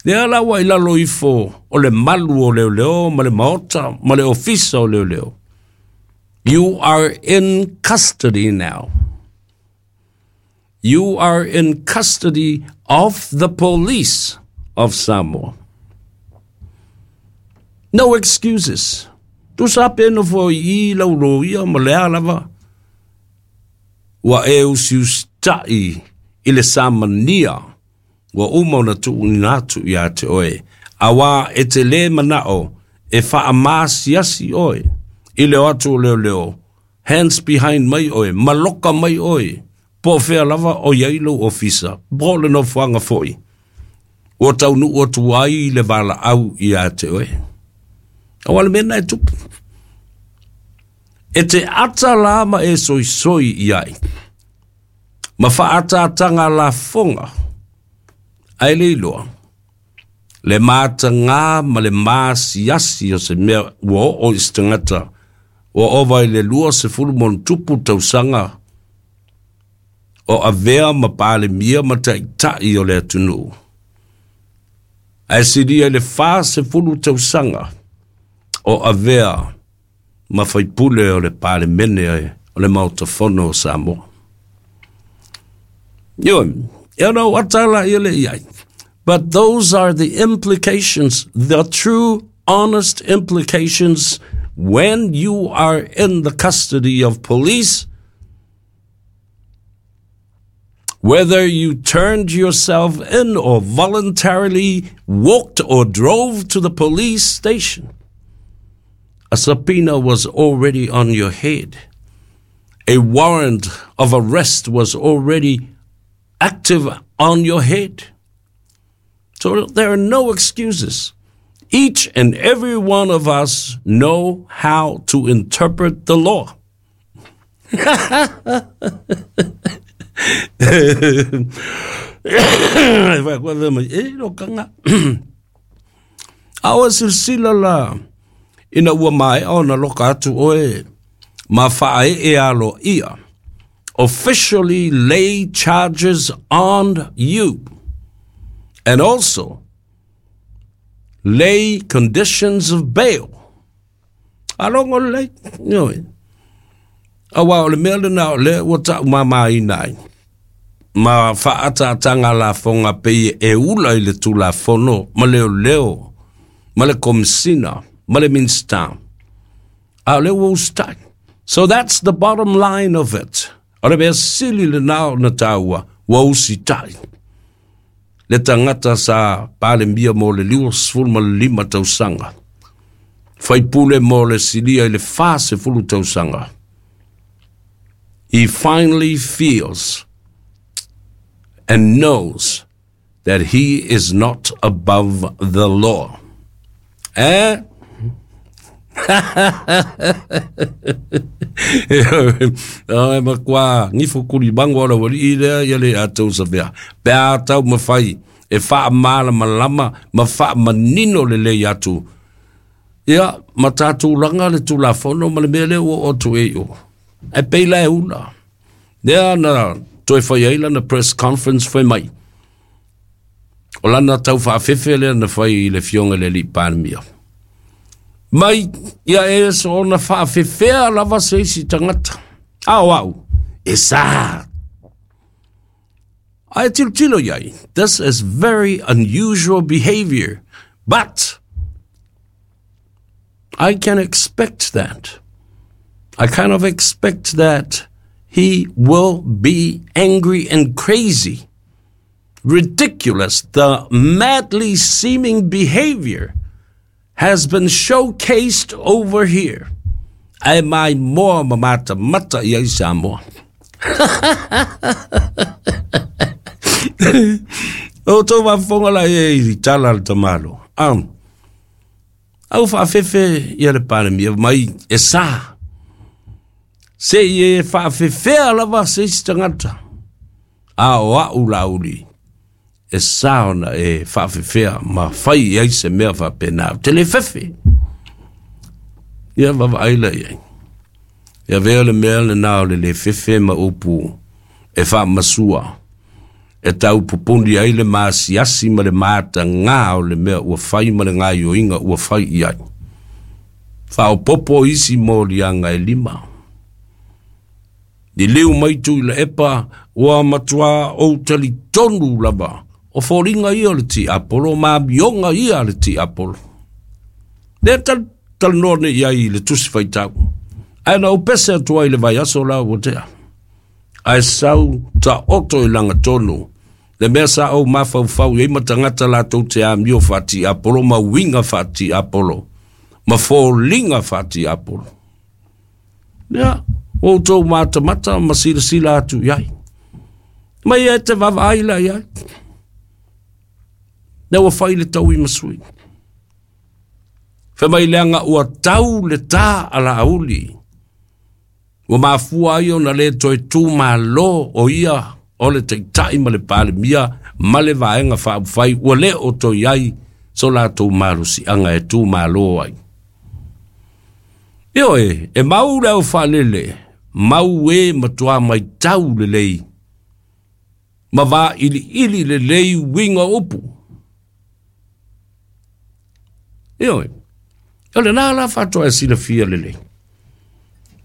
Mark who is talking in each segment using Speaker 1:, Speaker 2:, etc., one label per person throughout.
Speaker 1: Lea la ua i lalo ifo o le malu o leoleo ma le maota ma le ofisa o leoleo. You are in custody now. You are in custody of the police of Samoa. No excuses. Tusa pe nofo i lau loia ma lea lava. Ua e usiusita'i i le samania ua uma ona tuuina atu ia te oe, auā e te lē mana'o e fa'amasiasi oe i le o atu o leoleo, hands behind mai oe, maloka mai oe, po o fea lava o i ai lou ofisa, po o le nofoaga fo'i ua taunu'u atu ai le valaau ia te oe. Auā le mea lena e tupu. E te ata la ma e soisoi i ai, ma faaataataga lafoga, ae le iloa, le matagā ma le masiasi o se mea ua oo i se tagata ua ova i le 20+ tausaga o avea ma Palemia ma Taitai o le atunuu, ae silia i le 40 tausaga o avea ma faipule o le Palemene o le Maota Fono o Samoa. Ioe, e ona ou ata la ia le i ai. But those are the implications, the true, honest implications when you are in the custody of police, whether you turned yourself in or voluntarily walked or drove to the police station. A subpoena was already on your head. A warrant of arrest was already active on your head. So there are no excuses. Each and every one of us know how to interpret the law. A o silasila la ina ua maea ona loka atu oe ma faaee aloaia, officially lay charges on you and also lay conditions of bail. Alogo lelei, ioe. Auā o le mea lena o lea ua taumāmāina ai ma faaataataga lafoga pei e ula i le Tulafono ma leoleo ma le Komesina ma le Minisita. A o lea ua usitai. So that's the bottom line of it. O le mea sili lena ona taua, ua usitai. Le tagata sa Palemia mo le 25 tausaga, faipule mo le silia i le 40 tausaga. He finally feels and knows that he is not above the law. Eh? Ai makuā gifo kulimago o le aualii lea ia le a tou savea. Pe a taumafai e faamalamalama ma faamanino lelei atu. Ia, ma tatou laga le Tulafono ma le mea lea ua oo atu ai i o. Ae pei la e ula. Lea na toe fai ai lana press conference fai mai. O lana tau faafefe lea na fai i le Afioga i le Alii Palemia. Mai ia e soona faafefea lava se isi tagata. A o au, e sa. Ae tilotilo i ai, this is very unusual behavior, but I can expect that. I kind of expect that he will be angry and crazy. Ridiculous, the madly seeming behavior has been showcased over here. Ae maimoa ma matamata i ai Samoa. O tou faafofoga la e i tala le tamalo. Au faafefe ia le Palemia mai e sa. Se i e faafefea lava se isi tagata. A o a'u Laauli e sa ona e faafefea ma fai i ai se mea faapena. Ou te le fefe. Ia vaavaai la i ai. Ia avea le mea lena o le le fefe ma upu e faamasua. e tau pupuni ai le masiasi ma le matagā o le mea ua fai ma le gaoioiga ua fai i ai. Faaopoopo isi moliaga e lima. Liliu mai Tuilaepa ua matuā ou talitonu lava o foliga ia o le tiapolo ma amioga ia a le tiapolo. Lea talanoa nei i ai i le tusi faitau. Ae na ou pese atu ai i le vaiaso la ua tea. Ae sau taoto i lagatonu le mea sa ou mafaufau i ai ma tagata latou te amio faatiapolo ma uiga faatiapolo ma foliga faatiapolo. Ia, ua outou matamata ma silasila atu i ai. Mai e te vaavaai la i ai. Lea ua fai le taui ma sui. Fai mai leaga ua tau le tā a Laauli. Ua mafua ai ona le toe tumalo o ia o le Taitai ma le Palemia ma le Vaega Faaupufai ua le o toe i ai so latou malosiaga e tumalo ai. Ioe, e mau le aufaalele, mau e matua maitau lelei, ma vailiili lelei uiga o upu. Ioe, o lena la faatoa e silafia lelei.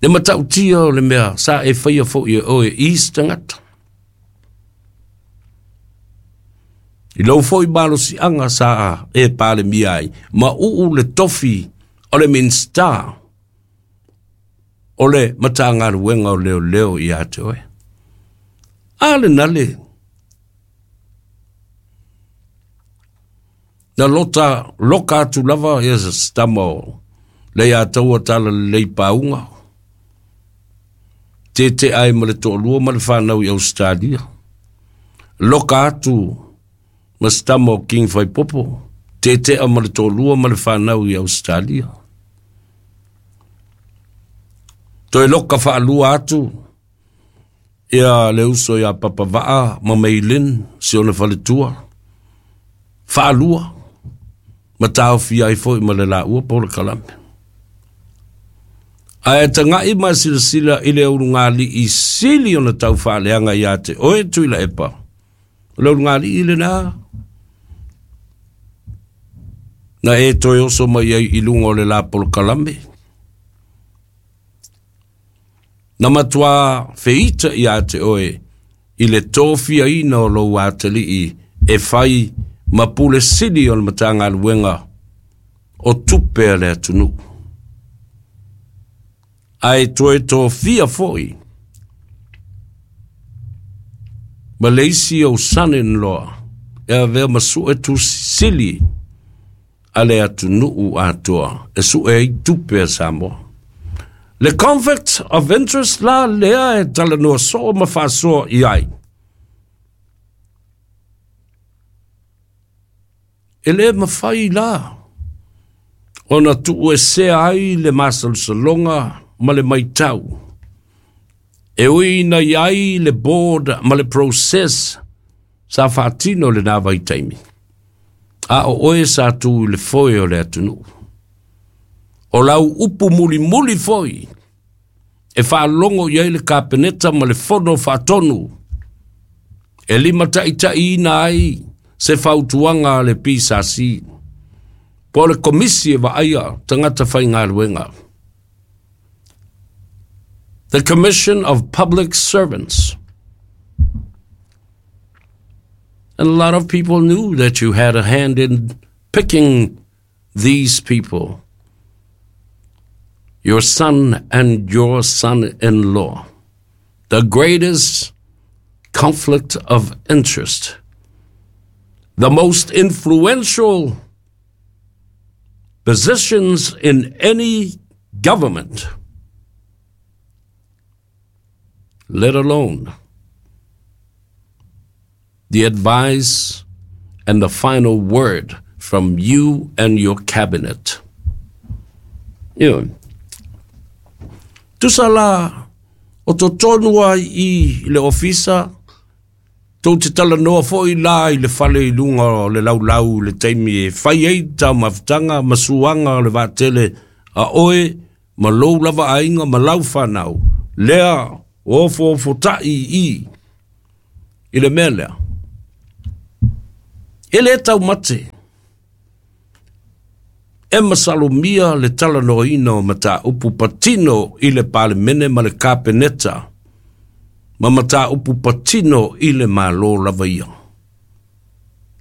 Speaker 1: Le matautia o le mea sa e faia foi e oe i isi tagata. I lou foi malosiaga sa e Palemia ai, ma uu le tofi o le Minisita o le Matagaluega o Leoleo ia te oe. A lena le na lota loka atu lava ia se tama o Leiataua Talalelei Pauga, tete ai ma le toalua ma le fanau i Ausetalia. Loka atu ma se tama o King Faipopo, tetea ma le toalua ma le fanau i Ausetalia. Toe loka faalua atu ia le uso ia Papavaa ma Meilin, si ona faletua, faalua, ma taofia ai foi ma le laua polokalame. Ae taga'i ma silasila i le ulugalii sili ona taufaaleaga ia te oe Tuilaepa, o le ulugalii lena na e toe oso mai ai i luga o le la polokalame. Na matuā feita ia te oe i le tofiaina o lou atalii e fai ma Pule Sili o le Matagaluega o Tupe a le atunuu. Ae toe tofia foi ma le isi ou son-in-law e avea ma Suetusi Sili a le atunuu atoa e sue ai tupe a Samoa. Le conflict of interest la lea e talanoa soo ma faasoa i ai. E le mafai la ona tuuesea ai le masalosaloga ma le maitau e ui ina i ai le board ma le process sa faatino i lena vaitaimi, a o oe sa tu i le foe o le atunuu. O lau upu mulimuli foi e faalogo i ai le Kapeneta ma le Fono Faatonu e limataitaiina ai se fautuaga a le PSC po o le Komisi e Vaaia Tagata Faigaluega, The Commission of Public Servants. And a lot of people knew that you had a hand in picking these people, your son and your son-in-law. The greatest conflict of interest, the most influential positions in any government, let alone the advice and the final word from you and your cabinet. Ioe. Tusa la, o totonu ai i le ofisa, tou te talanoa foi la i le fale i luga o le laulau i le taimi e fai ai taumafataga ma suaga o le vaatele a oe ma lou lava aiga ma lau fanau, lea ua ofoofotai i i i le mea lea. E lē taumate e masalomia le talanoaina o mataupu patino i le Palemene ma le Kapeneta ma mataupu patino i le Malo lava ia.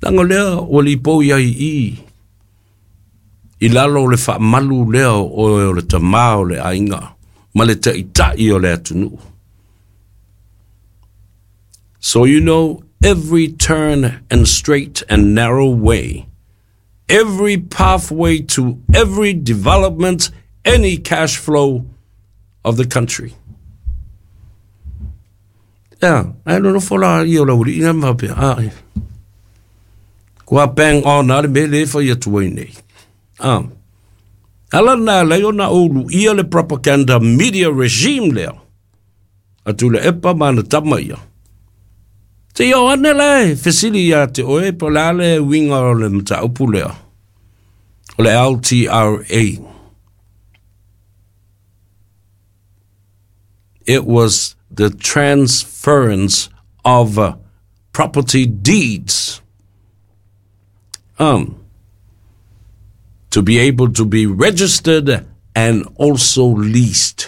Speaker 1: Leaga lea ua lipoi ai i i i lalo o le faamalu lea o oe o le tamā o le aiga ma le taitai o le atunuu. So you know every turn and straight and narrow way, every pathway to every development, any cash flow of the country. Ia, ae nonofo la ia o le aualii na ma faapea, a, kua bang on a le mea le fai atu ai nei. Ah. Ala na lei ona ou luia le propaganda media regime lea. A Tuilaepa ma ana tama ia. Se i oo ane la e fesili ia te oe po o le a le uiga o le mataupu lea, o le LTRA. It was the transference of property deeds to be able to be registered and also leased.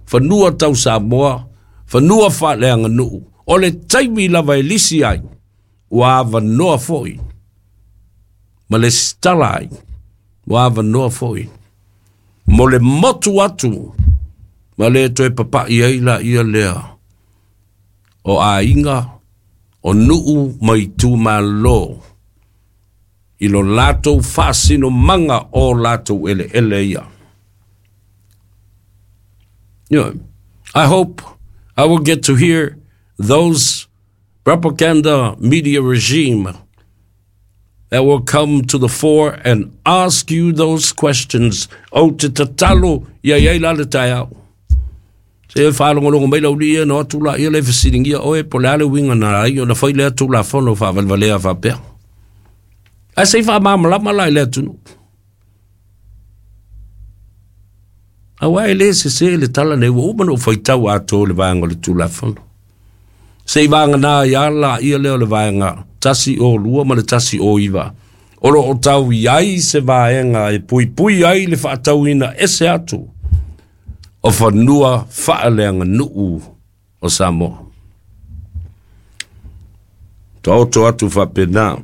Speaker 1: Fanua tau Samoa, fanua faaleaganuu, o le taimi lava e lisi ai, ua avanoa foi ma lesitala ai, ua avanoa foi mo le motu atu ma le toe papa'i ai laia lea o aiga, o nuu ma itumalo i lo latou faasinomaga o latou eleele ia. You know, I hope I will get to hear those propaganda media regime that will come to the fore and ask you those questions. Ou te tatalo ia iai la le taeao. Se e faalogologo mai lau alii ona o atu laia lea e fesiligia oe po o le a le uiga na ai ona fai lea Tulafono faavalevalea faapea. Ae se i faamalamalama la i le atunuu. Aua e le sese le tala nei, ua uma ona ou faitau atoa i le vaega o le Tulafono. Se i vagana ai lava laia lea o le vaega 102 ma le 109, o lo o tau i ai se vaega e puipui ai le faatauina ese atu o fanua faaleaganuu o Samoa. Taoto atu faapena.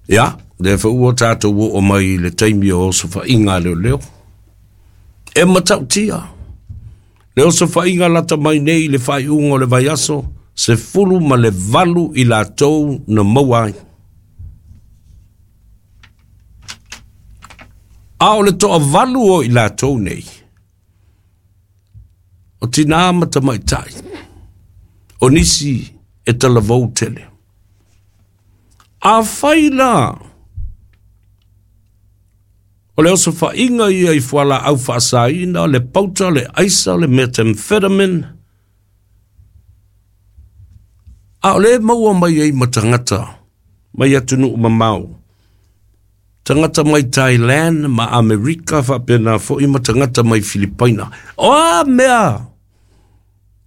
Speaker 1: Ia, lea foi ua tatou oo mai i le taimi o osofaiga a leoleo. E matautia le osofaiga lata mai nei i le faaiuga o le vaiaso, 18 i latou na maua ai. A o le toavalu o i latou nei, o tinā ma tamaitai, o nisi e talavou tele. Afai la o le osofaiga ia i fualaau faasaina, le pauta, le aisa, le methamphetamine, a o lea e maua mai ai ma tagata mai atunuu mamao, tagata mai Thailand ma Amerika faapena foi ma tagata mai Filipaina. O a mea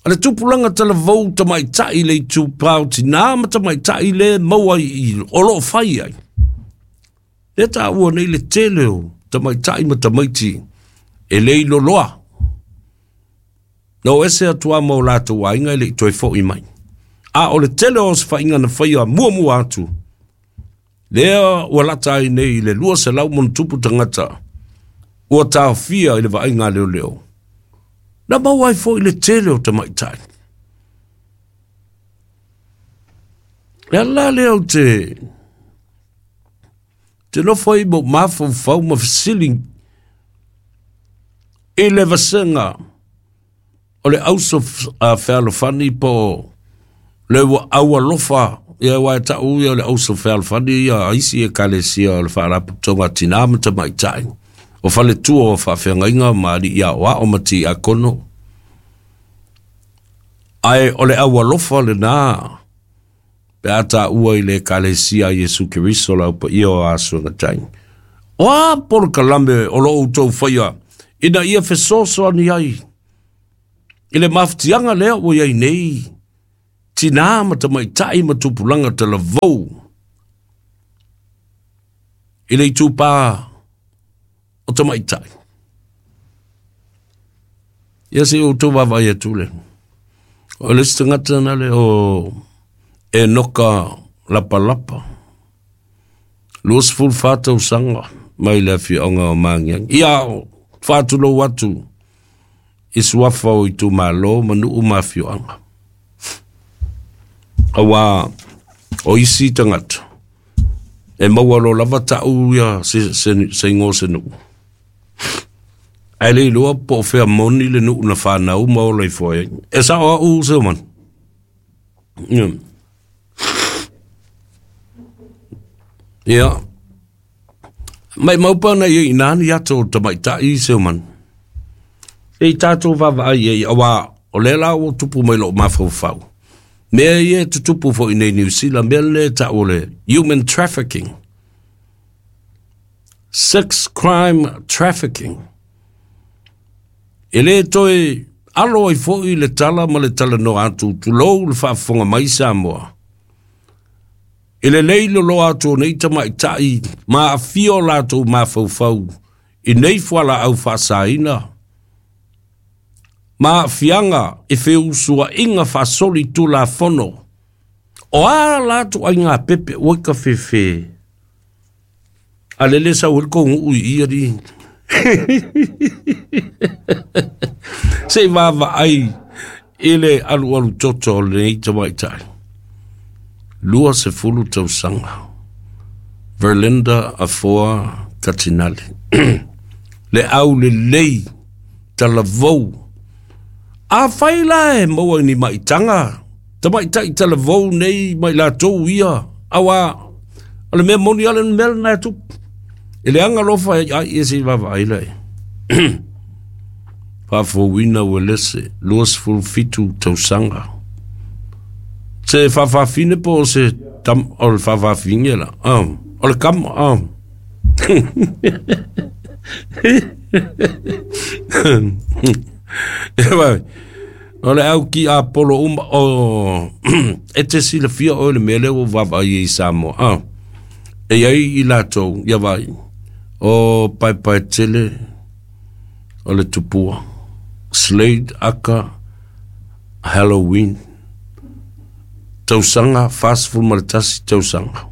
Speaker 1: a le tupulaga talavou tamaitai le itupa o tinā ma tamaitai le maua i o lo o fai ai. Lea taua nei le tele o tamaitai ma tamaiti e le iloloa. Na o ese atu lava ma o latou aiga e le i toe foi mai. A o le tele o osofaiga na faia muamua atu, lea ua lata ai nei i le 200 ma ona tupu tagata ua taofia i le vaaiga a leoleo, na maua ai foi le tele o tamaitai. Le ala la lea ou te te nofo ai ma ou mafaufau ma fesili i le vasega o le auso fealofani po o le aualofa, ia aua e tau ia o le auso fealofani ia a isi ekalesia o le Faalapotopotoga a Tinā ma Tamaitai, o faletua o faafeagaiga ma alii aoao ma tiakono. Ae o le aualofa lenā pe a taua i le Ekalesia a Iesu Keriso le Au Paia o Asuagatai. O a polokalame o lo outou faia ina ia fesoasoani ai i le mafatiaga lea ua i ai nei Tinā ma tamaitai ma tupulaga talavou i le itupā o tamaitai. Ia se i outou vaavaai atu le. O le isi tagata na le o Enoka Lapalapa. 24 tausaga mai le afioaga o Magiagi. Ia, faatulou atu i suafa o itumalo ma nuu ma afioaga. Auā o isi tagata e maua loa lava ta'u ia se, se, se igoa o se nuu. Ae le iloa po o fea moni le nuu na fanau ma ola ifo ai. E sa'o a'u Seomanu. Ia. Maimau pa na ia ina ni ato o tamaitai Seomanu. E i tātou vaavaai ai, auā o lea la ua tupu mai lou mafaufau. Mea ia e tutupu foi nei Niu Sila, mea lenei e ta'u o le human trafficking. Sex crime trafficking. E lē toe alo ai foi le tala ma le talanoa atu, tulou le faafofoga mai Samoa. E lelei loloa atu o nei tamaitai ma aafia o latou mafaufau i nei fualaau faasaina ma aafiaga i feusuaiga faasolitulafono. O a latou aiga pepe ua i ka fefe a lele sau ai le kou nuu i ia li. Se i vaavaai i le alualu toto o lenei tamaitai. 20 tausaga. Verlinda Afoa Katinali. Le aulelei talavou. Afai la e maua i ni maitaga, tamaitai talavou nei ma i latou ia, auā o le mea moni lava le mea lena e tupu. E leaga alofa ai ia se i vaavaai la i. Faafouina Uelese, 27 tausaga. Se faafafine po o se tam, o le faafafine la. O le kama. E vai. O le au ki a polo uma o e te silafia oe le mea lea ua vaavaai ai i Samoa. E i ai i latou, ia vai, o Paepaetele, o le tupua, Slade aka Halloween, tausaga 41 tausaga,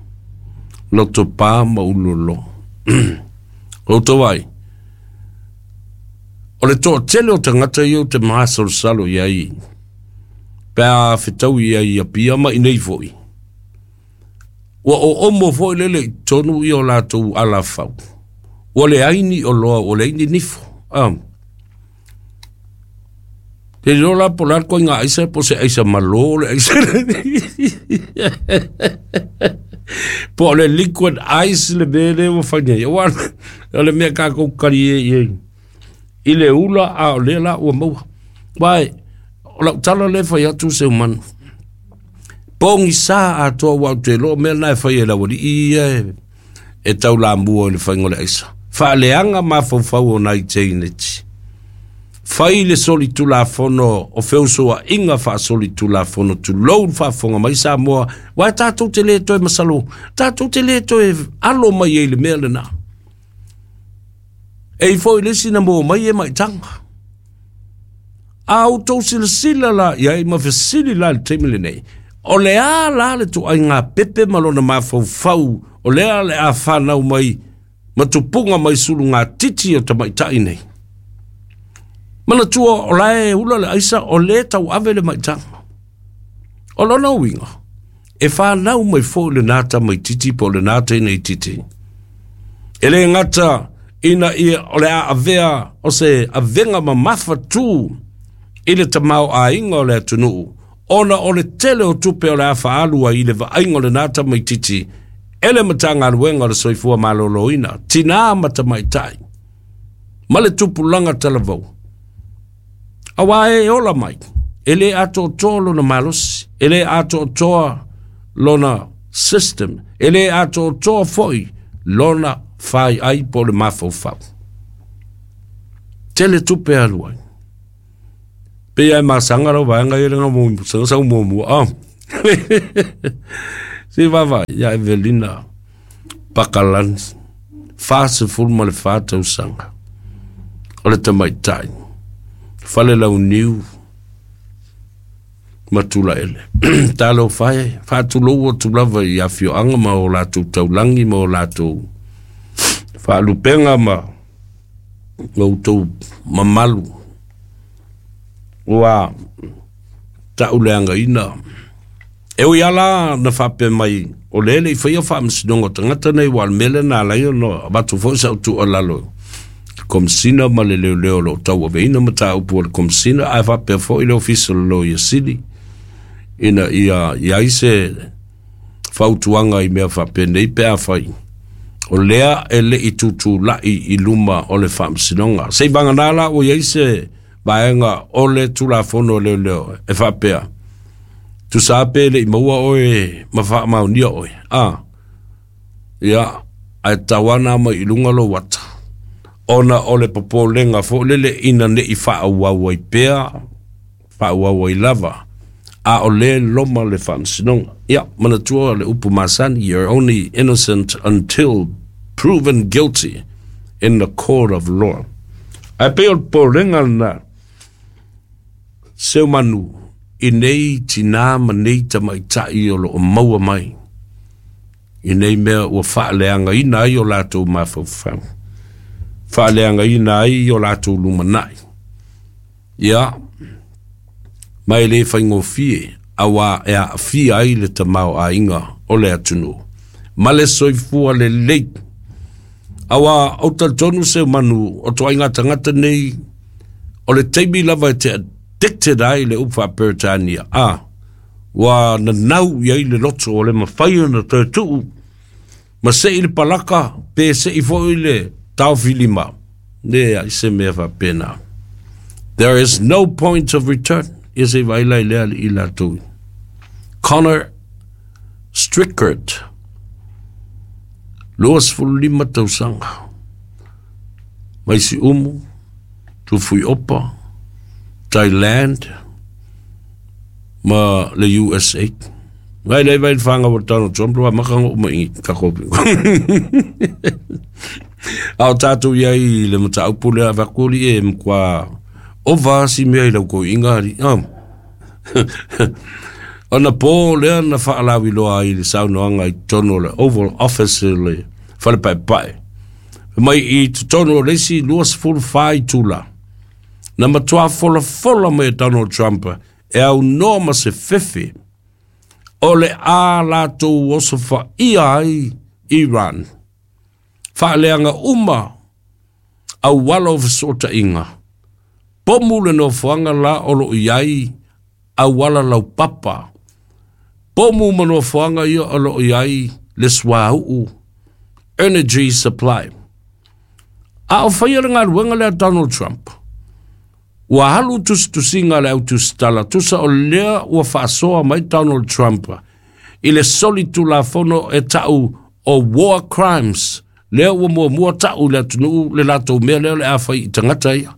Speaker 1: loto pa ma ulolo. Outou ai, o le toatele o tagata ia ou te masalosalo i ai, pe a fetau i ai i Apia ma i nei foi, Ua oomo foi lele i totonu ia o latou alafau. Ua leai ni oloa, ua leai ni nifo. Te iloa la po o le a le koiga aisa po o se aisa malo le aisa. Po o le liquid ice le mea lea ua fai nei. Aua o le mea kākou kali e i ai. I le ula a o lea la ua maua. Wae, o lau tala lea fai atu se umanu. Pogisa atoa aua ou te iloa o mea na e fai e le aualii ia e taulamua i le faiga o le aisa. Faaleaga mafaufau o nai teineti. Fai le solitulafono o feusoaiga faasolitulafono tulou le faafofoga mai Samoa, aua e tatou te le toe masalo, tatou te le toe alo mai ai i le mea lena. E i foi le isi na maua mai e maitaga. A outou silasila la i ai ma fesili la i le taimi lenei, o le a la le ituaiga pepe ma lona mafaufau o lea le a fanau mai ma tupuga mai sulugatiti o tamaitai nei? Manatua o la e ula le aisa o lē tauave le maitaga. O lona uiga, e fanau mai foi lenā tamaititi po o lenā teineititi. E lē gata ina ia o le a avea o se avega mamafa tū i le tamaoaiga o le atunuu, ona o le tele o tupe o le a faaalu ai i le vaaiga o lenā tamaititi e le Matagaluega o le Soifua Maloloina, Tinā ma Tamaitai, ma le Tupulaga Talavou. Auā e ola mai, e lē atoatoa lona malosi, e lē atoatoa lona system, e lē atoatoa foi lona faiai po o le mafaufau. Tele tupe alu ai. Pei lava e masaga lau vaega ia lena sau muamua. Se i vaavaai ia Evelina Pakalani, 44 tausaga, o le tamaitai, Falelauniu ma Tulaele. Talofa e, faatulou atu lava i afioaga ma o latou taulagi ma o latou faalupega ma outou mamalu ua tauleagaina. E ui lava la na faapea mai o lea e le i faia faamasinoga o tagata nei, aua o le mea lea na ala ai ona avatu foi sau tuualalo i le Komesina ma le Leoleo o lo o tauaveina mataupu a le Komesina, ae faapea foi le Ofisa o le Loia Sili, ina ia i ai se fautuaga i mea faapenei pe afai o lea e le i tutulai i luma o le faamasinoga. Seivagana la ua i ai se vaega o le Tulafono a Leoleo e faapea, tusa lava pe le i maua oe ma faamaonia oe, a, ia, ae tatau lava ona aumai i luga lou ata, ona o le popolega foi lele ina ne i faaauau ai pea, faaauau ai lava, a o lea e loma le faamasinoga. Ia, manatua le upu masani, you're only innocent until proven guilty in the court of law. Ae pei o le popolega lena, seumanu i nei tinā ma nei tamaitai o lo o maua mai i nei mea ua faaleagaina ai o latou mafaufau, faaleagaina ai o latou lumanai. Ia, ma e le faigofie, auā e aafia ai le tamaoaiga o le atunuu ma le soifua lelei. Auā, ou te talitonu seumanu o toaiga tagata nei, o le taimi lava e te addicted ai le upu faa-Peretania, a, ua nanau i ai le loto o le mafai ona toe tuu ma sei le palaka pe sei foi le taofilima. Leai se mea faapena. There is no point of return. Ia se i vaai la i lea alii latou. Connor Strickert, 25 tausaga, mai Siumu, Tufuiopa, Thailand, ma le USA. Ngai lei vai whanga o Donald Trump wa maka ngo uma i ka kopi. A o tātou ia i le mataupu lea wakuli e mkwa ova si mea i lau ko inga ari. Ona pō lea na whaalawi loa ai le saunoaga i totonu o le Oval Office i le fale paepae. Mai i totonu o le isi 24 itula, na matua folafola mai e Donald Trump e aunoa ma se fefe o le a latou osofaia ai Iran. Faaleaga uma auala o fesootaiga, pomu le nofoaga la o loo i ai auala laupapa, pomu ma nofoaga ia o loo i ai le suauu, energy supply. A o faia le galuega lea Donald Trump, ua alu tusitusiga a le autusitala, tusa o lea ua faasoa mai Donald Trump i le soli tulafono e tau o war crimes, lea ua muamua tau i le atunuu le latou mea lea o le a fai i tagata ia.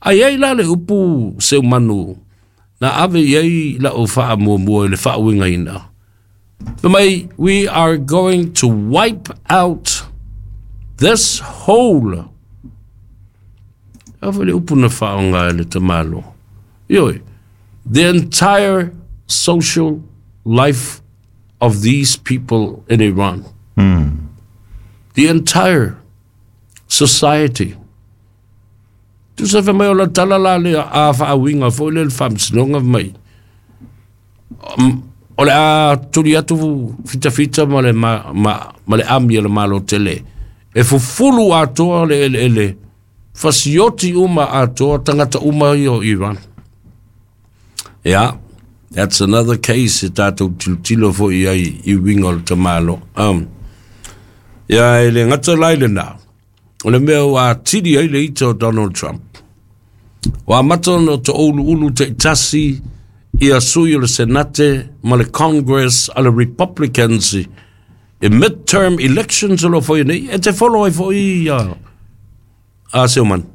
Speaker 1: Ai ai la le upu seumanu na ave i ai lau faamuamua i le faauigaina. Fai mai, we are going to wipe out this whole. A foi le upu na faaaoga e le tamalo. Ioe, the entire social life of these people in Iran. The entire society. Tusa fai mai o la tala la lea a faauiga foi lea le faamasinoga fai mai, o le a tuli atu fitafita ma le, ma, ma, ma le ami a le Malo tele e fufulu atoa le eleele, fasioti uma atoa tagata uma ia o Iran. Yeah, that's another case e tātou tilotilo foi i ai i uiga o le tamalo. Ia e le gata la i lena, o le mea ua atili ai le ita o Donald Trump. Ua amata ona toʻuluʻulu taitasi ia sui o le Senate ma le Congress a le Republicans i midterm elections o lo o faia nei, e te follow ai foi ia a Seumanu.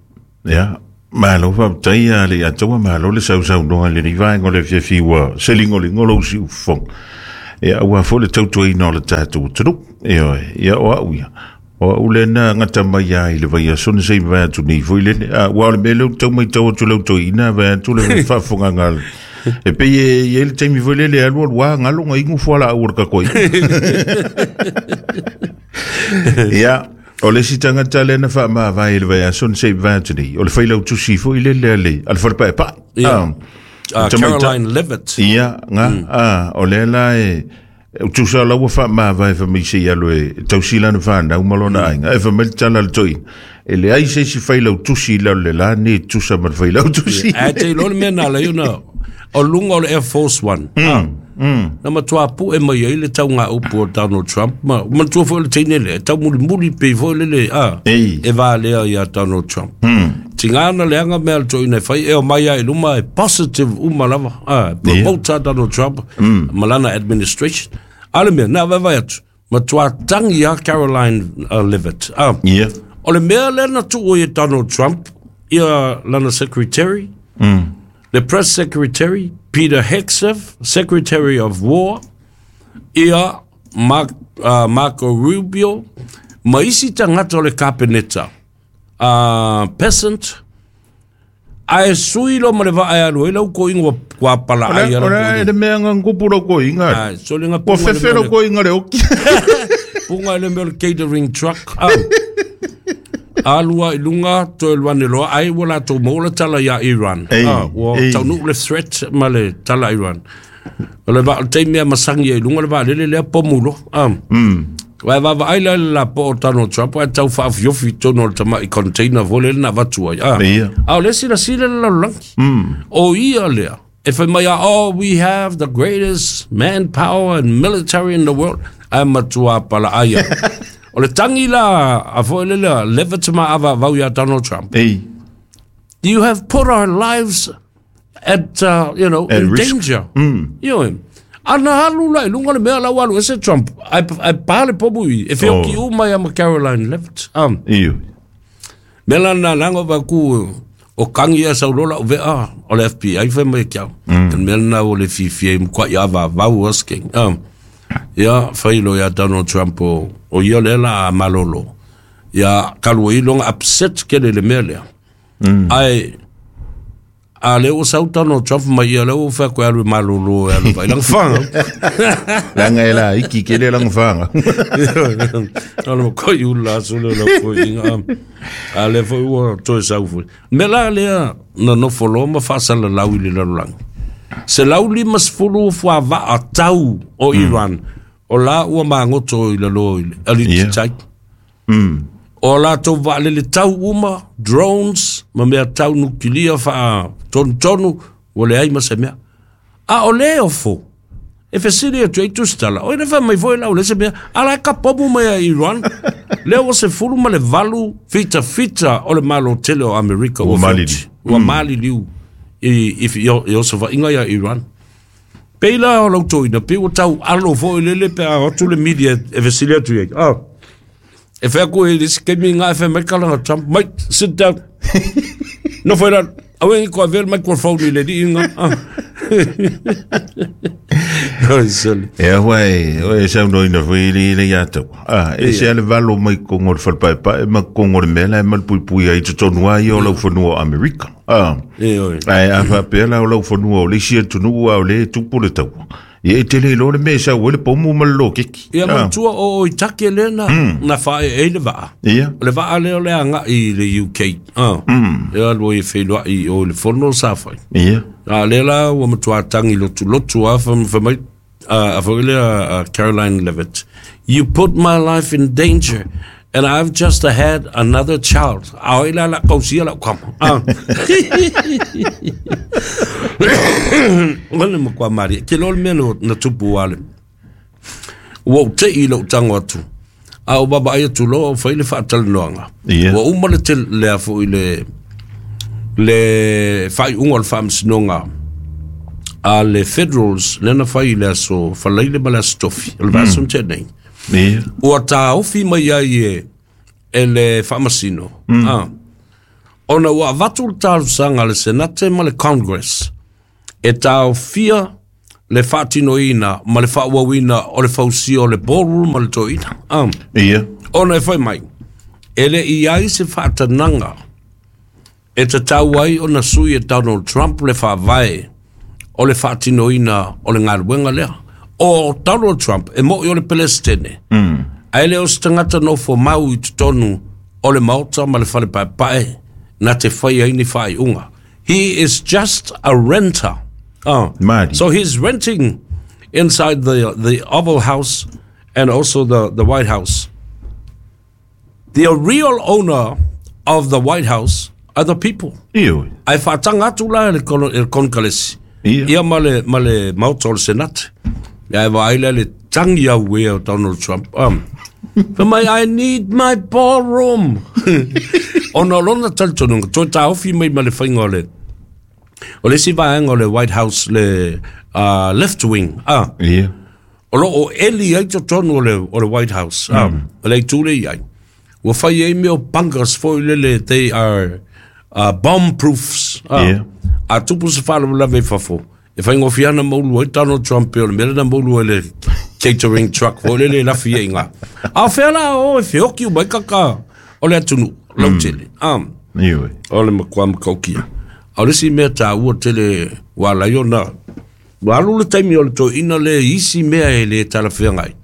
Speaker 2: Ia. Malo faafetai a Leiataua, malo le sausaunoa i lenei vaega o le afiafi ua seligolingo lou siufofoga. Ia, aua foi le tautuaina o le tatou atunuu. Ioe, ia o au ia, o au lea na gata mai lava i le vaiaso na se i mavae atu nei foi lele. A, aua o le mea lea ou te tau matau atu i lau toeaina, vae atu le faafofogaaga a le E pei e i ai le taimi foi lele e alu alu a galo na inu fualaau o le tatou aiga. Ia, o le isi tagata lea na faamavae i le vaiaso na se i mavae atu nei, o le failautusi foi lele a le, a le falepaepae.
Speaker 1: Ia. Ah, Caroline Levitt.
Speaker 2: Ia, nga, ah, o lea la e, tusa la ua faamavae fai mai se i alu e tausi lana fanau ma lona aiga. E fai mai le tala a le toeaina, e leai se isi failautusi i lalo i le la nei e tusa ma le failautusi.
Speaker 1: Ae te iloa le mea na ala ai ona o luga o le Air Force One. Ah, na matua pu'e mai ai le taugaupu o Donald Trump ma manatua foi o le teine lea e taumulimuli pei foi lele a
Speaker 2: Ei.
Speaker 1: e valea ia Donald Trump. Tiga na leaga mea a le toeaina e fai e omai lava i luma e positive uma lava a promote a Donald Trump ma lana administration. A o le mea na vaevae atu matua tangi a Caroline Levitt. A
Speaker 2: Ia.
Speaker 1: o le mea lea na tuu ai e Donald Trump ia lana secretary le press secretary Peter Hegseth, Secretary of War, ia Mark, Marco Rubio, ma isi tagata o le Kapeneta, Peasant, ae sui loa ma le vaa e alu ai lau koiga ua, ua palaai
Speaker 2: a
Speaker 1: lau
Speaker 2: Ora
Speaker 1: koiga.
Speaker 2: e le mea nga kupu lau koiga.
Speaker 1: Ai, sole nga
Speaker 2: Ua
Speaker 1: punga le
Speaker 2: fefe
Speaker 1: mea
Speaker 2: lau
Speaker 1: le-
Speaker 2: koiga le oki.
Speaker 1: punga i le mea o le catering truck. Ah. Alu ai i luga, toe alu ane loa, ai ua latou maua le tala ia Iran.
Speaker 2: Ei,
Speaker 1: Ah, ua
Speaker 2: ei.
Speaker 1: taunuu le threat ma le tala a Iran. O le vaa, o le taimi a masagi ai i luga le vaalele lea pomu loa. Ah. Aua e vaavaai la i le lapoa o Donald Trump ae tau faaofiofi i totonu o le tamai container foi lea na avatu ai. Ah.
Speaker 2: Ia.
Speaker 1: A o lea silasila le lalolagi. O ia lea e fai mai a, oh, we have the greatest manpower and military in the world. Ae matua palaai ai. O le tangi la a foi le lea, Levitt ma avaavau ia Donald Trump.
Speaker 2: Ei.
Speaker 1: You have put our lives at, you know,
Speaker 2: At
Speaker 1: in
Speaker 2: risk.
Speaker 1: danger. Ioe. Ana alu la i luga o le mea la ua alu ese Trump. Ai, ai pa le pomu i. E whioki
Speaker 2: Oh.
Speaker 1: uma ia ma Caroline Levitt.
Speaker 2: Io.
Speaker 1: Mea la na langa va ku o kangi ia sau lola o vea o le FBI fai mai kia. Mm. Mea na o le fifi e mkwa ia va vau asking. Ia fai lo ia Donald Trump o, o ia le la a malolo. Ia kalu i longa upset ke le le mea lea. Ai a le o sau Donald Trump mai ia le o wha koe alu e malolo e alu vai langa whanga.
Speaker 2: Langa e la iki ke le langa whanga.
Speaker 1: Ala ma koi ula aso le la koi inga. A le foi ua toe sau foi. Me la lea na nofo loa ma faasala lau i le lalolagi. 150 fuavaa tau o Iran. O la ua magoto i lalo i le aliti
Speaker 2: Yeah.
Speaker 1: tai. O latou vaalele tau uma, drones, ma mea tau nukilia faa tonutonu, ua leai ma se mea. A o le ofo, e fesili atu ai tusitala, o ina fai mai foi lau le se mea, ala e ka pomu mai a Iran, lea ua 18 fita fita o le malo tele o Amerika
Speaker 2: Ua
Speaker 1: ua
Speaker 2: maliliu.
Speaker 1: feoti. Ua maliliu i, i, i, i osofaiga ia Iran. Pei la o lau toina, pei ua tau alo foi lele pe a atu le media e fesili atu i ai. Ah. E fai aku e isi kemi ngā e fai mai kalanga Trump, mate, sit down. No fai ralo, awe ngi ko avea le microphone i le li inga. Ah. Ai, sole.
Speaker 2: E ahua e, o e saunoina foi i le le ia tau. Ah, e se ale valo mai kongo le whalpaepae ma kongo le mea la e mal pui ai totonu ai o lau whanua o Amerika. Ah.
Speaker 1: E oi.
Speaker 2: Ai a whapea la o lau whanua o le isi atunuu a o le tupu le tau. Ia e tele lo le mea e sau e le pomu ma le lo keki.
Speaker 1: Ia
Speaker 2: Ah.
Speaker 1: matua o o i take lea na, na whae e le vaa.
Speaker 2: Ia.
Speaker 1: O le vaa lea o le anga i le UK. Ah. Ia alu ai whenua i o le fono sa whai.
Speaker 2: Ia.
Speaker 1: A lea la ua matua tangi lotu lotu a wha wha mai a wha le a Caroline Levitt. You put my life in danger and I've just had another child. A oi la la kausia la kama. Ah. Wale mo kwa mari. Ke lol mea no na tupu wale. Ua u te i lau tango atu. A o baba ai atu loa o whai le whaatalanoanga.
Speaker 2: Ia.
Speaker 1: Ua uma le te lea fo i le le whai unga o le whaamsinoga a le federals le na whai i le aso whalaile ma le aso tofi. O le vaaso mm. nei.
Speaker 2: Ia.
Speaker 1: Ua tāofi mai ai e, e le whaamasino. Ah. Ona ua avatu le talosaga a le Senate ma le Congress e taofia le faatinoina ma le faaauauina o le fausia o le ballroom ma le toeaina.
Speaker 2: Ia.
Speaker 1: Ona e fai mai, e le i ai se faatanaga e tatau ai ona sui e Donald Trump le faavae o le faatinoina o le galuega lea. O Donald Trump e mo'i o le Pelesitene, ae le o se tagata nofo mau i totonu o le Maota ma le Fale Paepae na te fai ai ni faaiuga. He is just a renter.
Speaker 2: Mali.
Speaker 1: So he's renting inside the Oval House and also the White House. The real owner of the White House are the people.
Speaker 2: Ioe.
Speaker 1: Ae faataga atu la e le Konekaresi
Speaker 2: Ia.
Speaker 1: ia ma le Maota o le Senate. Ia e vaai lea le tangi au ea o Donald Trump. Fai mai, I need my ballroom. Ona o lona talitonuga, toe taofi mai ma le faiga o le o le isi vaega o le White House, le left wing.
Speaker 2: Ia.
Speaker 1: O loo eli ai totonu o le White House. O le itu le i ai. Ua fai ai mea o bunkers foi lele, they are bomb proofs.
Speaker 2: Ia.
Speaker 1: A tupu se faalavelave i fafo, e faigofie ana maulu ai Donald Trump e o le mea lena maulu ai le catering truck foi lele e lafi ai ngā. A o fea la o e feoki umai kaka o le atunuu, lautele.
Speaker 2: Ioe.
Speaker 1: O le matua makaukia. A o le isi mea tāua tele ua ala ai ona ua alu le taimi o le toeaina le isi mea e le talafeagai.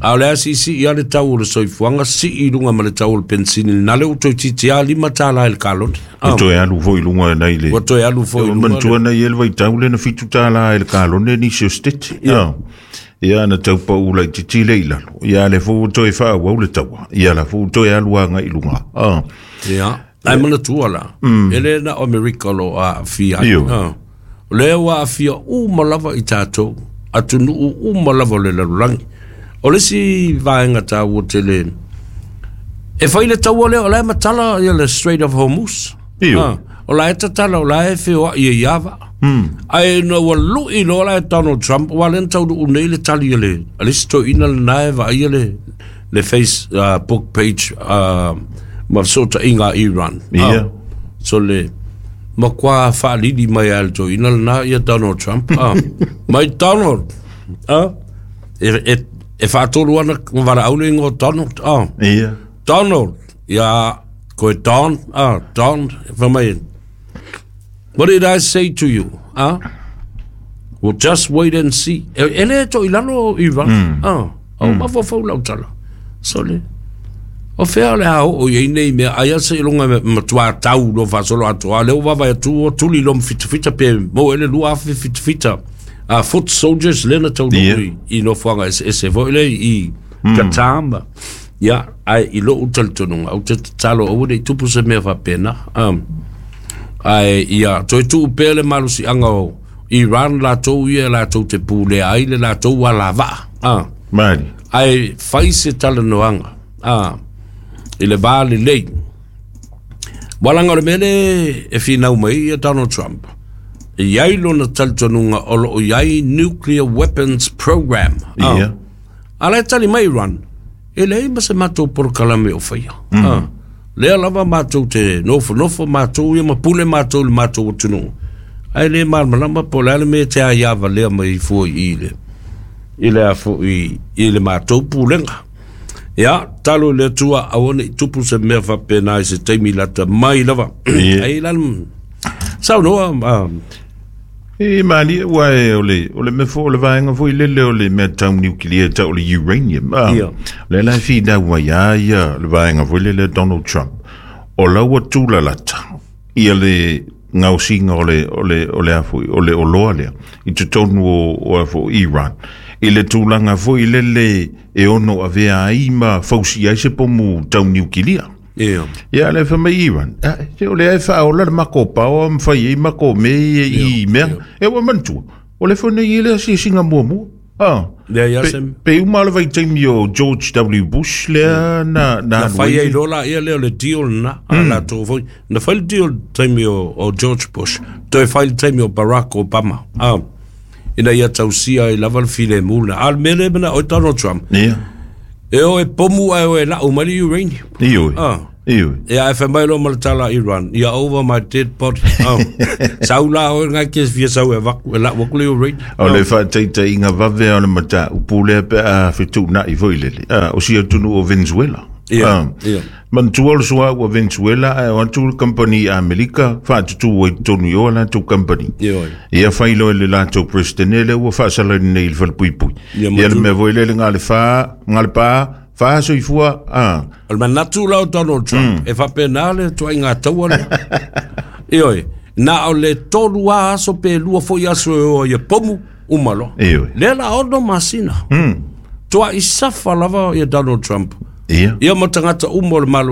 Speaker 1: A o le a siisii lava le tau o le soifuaga, sii i luga ma le tau o le pensini, na lea ua toeitiiti lava $5 i le kalone.
Speaker 2: Ua toe alu foi i luga nai le
Speaker 1: Ua toe alu foi i luga.
Speaker 2: Manatua nai e le vaitau le na $7 i le kalone nisi o Steti. Ia na tau pau laitiiti le i lalo. Ia le foi ua toe faaauau le taua. Ia la foi ua toe alu agai i luga.
Speaker 1: Ia. Ai manatua la. E le na o Amerika o lo o aafia ai.
Speaker 2: Ioe.
Speaker 1: O lea ua aafia uma lava i tatou, atunuu uma lava o le lalolagi. O le isi vaega tāua tele, e fai le taua lea, o la e matala ia le Strait of Hormuz.
Speaker 2: Ioe.
Speaker 1: O la e tatala, o la e feoai e iava. Ae na ua lui loa la e Donald Trump, ua le na taunuu nei le tali a le isi toeaina lena e vaaia le Facebook page ma fesootaiga a Iran.
Speaker 2: Ia.
Speaker 1: So le matua faalili mai a le toeaina lena ia Donald Trump. Mai Donald. E faatolu ana valaau le ingoa o Donald.
Speaker 2: Ia.
Speaker 1: Donald. Ia, koe Don. Don. Fai mai, what did I say to you? Well, just wait and see. E le to i lalo Iran. O mafaufau lau tala. So le, o fea le a o i nei mea, ai asa i lunga matua tau lo faasolo atoa, lea ua vaavaai atu o tuli lo mafitafita pe mo ele lua afe fitafita. Foot soldiers lena tau
Speaker 2: Ia.
Speaker 1: i nofoaga eseese foi le i Qatar ma. Ia, ai i lou talitonuga, ou te tatalo aua ne i tupu se mea faapena. Ai ia, toe tuu pea le malosiaga o Iran latou ia latou te pulea ai le latou alavaa.
Speaker 2: Mali.
Speaker 1: Ai fai se talanoaga i le va lelei. Walaga o le mea le e finau mai ia Donald Trump, e iai lona talitonuga o loo iai nuclear weapons program.
Speaker 2: Ia.
Speaker 1: A la e tali mai Iran, e leai ma se matou polokalame o faia. Lea lava matou te nofonofo matou ia ma pule matou i le matou atunuu. Ae le malamalama po o le a le mea e te aiava lea mai fua i le i le a foi i le matou pulega. Ia, talo i le Atua aua ne i tupu se mea faapena i se taimi lata mai lava.
Speaker 2: Ia.
Speaker 1: Ai la saunoa
Speaker 2: E mali ua e o le mea foi o le vaega foi lele o le mea tau nuclear tau o le uranium.
Speaker 1: Ia.
Speaker 2: Le la finau ai a ia le vaega foi lele Donald Trump. O laua tūlalata ia le gaosiga o le o le o le a foi o le oloa lea i totonu o a foi Iran. I le tulaga foi lele e ono avea ai ma fausia ai se pomu tau niukilia.
Speaker 1: Ia.
Speaker 2: Ia le fa mai Iran. Se o le ai faaola le mako paoa ma fai ai mako me i mea. E ua manatua. O le foi nei le asiasiga muamua.
Speaker 1: Lea ia
Speaker 2: Pe,
Speaker 1: se
Speaker 2: pe uma le vaitaimi o George W. Bush lea na
Speaker 1: na
Speaker 2: alu
Speaker 1: fai
Speaker 2: ai.
Speaker 1: ai loa la ia lea o le deal na a latou foi. Na fai le deal taimi o George Bush, toe fai le taimi o Barack Obama. Ina ia tausia ai lava le filemu lena. A o le mea lea e manao ai Donald Trump,
Speaker 2: Ia.
Speaker 1: e o e pomu ae o e lau mai le uranium.
Speaker 2: Ioe. Ioe.
Speaker 1: Ia ae fai mai loa ma le tala a Iran, ia over my dead body. Oh. Sau la oe ngai ke fia sau e avaku, e lau aku le uranium.
Speaker 2: O le faataitaiga vave o le mataupu lea pe a fetuunai foi lele. Ah, o si atunuu o Venezuela.
Speaker 1: Ia,
Speaker 2: Ah,
Speaker 1: ia.
Speaker 2: Manatua o le suauu a Venezuela ae o atu le kamupani Amerika faatutu ai i totonu i o a latou kamupani.
Speaker 1: Ioe.
Speaker 2: Ia fai loa e le latou president lea ua faasalaina nei i le falepuipui.
Speaker 1: Ia,
Speaker 2: Ia le
Speaker 1: Maduro.
Speaker 2: mea foi lele na o le fa, na o le pa, fa soifua, ah.
Speaker 1: O le manatu la o Donald Trump, e faapena le tuaiga taua lea. Ioe, na o le 3 lava aso pe 2 foi aso e o ai e pomu, uma loa.
Speaker 2: Ioe.
Speaker 1: Lea la 6 masina. Tuai safa lava ia Donald Trump.
Speaker 2: Ia.
Speaker 1: Ia ma tagata uma o le Malo.